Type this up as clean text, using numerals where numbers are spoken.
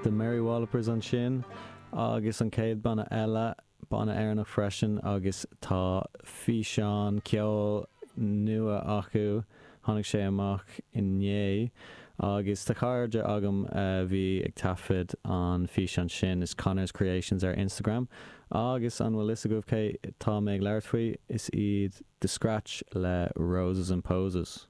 The Mary Wallopers ansin agus an chéad banna eile, banna Éireannach freisin agus tá físeán ceoil nua acu, tháinig sé amach inné agus tá cairde agam a bhí ag taifead an físeán sin, is Connors Creations ar Instagram agus an bhfuil fhios agaibh cé tá mé ag labhairt faoi? Is iad The Scratch le Roses and Poses.